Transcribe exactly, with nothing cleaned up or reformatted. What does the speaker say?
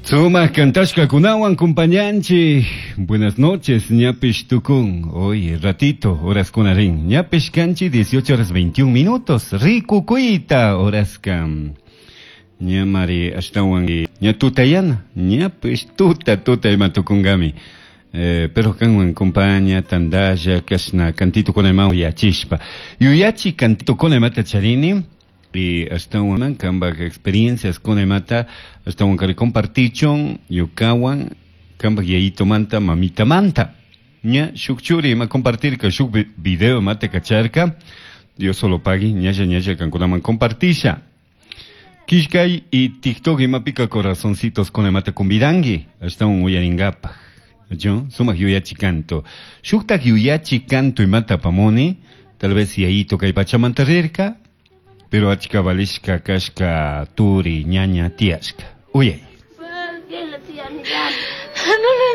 Sumak kantashkakunawan kumpañanchik. Buenas noches, ñapish tukun. Hoy ratito, horas kunarin. Ñapish kanchi dieciocho horas veintiún minutos. Rikukuyta horaska. Ñamari ashtawan ña tutayana. Ñapish tuta tuta ima tukungami. Eh, pero kanwan compaña tandalla kashna cantito con ima yachishpa. Yuyachi cantito con imata charini. Y ashtawan kambak experiencias con imata ashtawan kari compartichon yukawan kambak yayito manta mamita manta. Ña shuk churi ima compartirka shuk video mate kacharka. Dios solo pagui ñalla ñalla kankunaman compartisha. Kishkay y TikTok ima pica corazoncitos con imata kumbidangi ashtawan uyaringapaj. Yo sumak yuyachi canto. Shuktak yuyachi canto imata pamoni, tal vez yayito kay pachamanta rirka, pero achka valishka kashka turi ñaña tiashka. Uyay. No le